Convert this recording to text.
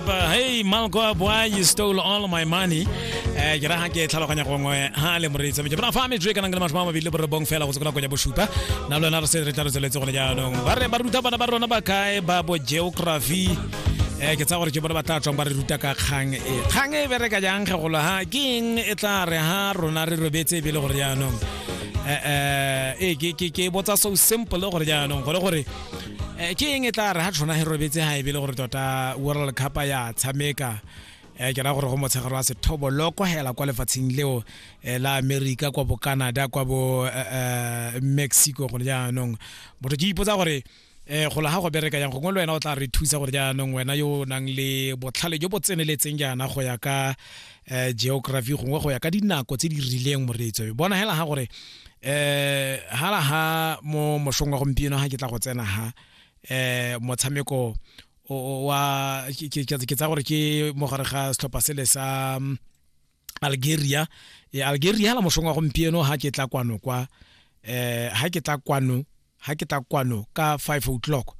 Up. Hey, Malko boy, you stole all my money. Eh, ke raha ke tlhaloganya gongwe ha le moreetsi ke bona fa metswe e kanang le masome a mabedi le borobong fela go tswa ya bosupa na le wena re se re tla re tsweletse gone jaanong ba re ba ruta bana ba rona ba kae ba bo geography eh ke tsa gore ke bone ba tla tswang ba re ruta ka kgang e kgang e bereka jang ge golo ha ke eng e tla re ha rona re robetse e bele gore jaanong eh eh ke ke ke botsa so simple gore jaanong gore gore eh, ke eng e tla re ha tshona he robetse ha e bele gore tota World Cup ya tshameka eh ke ra gore go motshegare wa sethoboloko hela kwa lefatsheng leo eh, la America kwa bo Canada kwa bo eh, eh, Mexico gone jaanong motho ke ipotsa gore eh go la ga go bereka yang gongwe le wena o tla re thusa gore jaanong wena yo o nang le botlhale jo bo tseneletseng jaana go ya ka eh geography gongwe go ya ka dinako tse di rileng moreetso bona hela ga gore eh hala ha mo mosong wa gompieno ha ke tla go tsena ha eh motshameko wa ke tsa gore ke mo gare ga setlhopha sele sa mm, Algeria e Algeria la mosong wa gompieno ha ke tla kwano kwa eh ha ke tla kwano ha ke tla kwano ka 5 o'clock.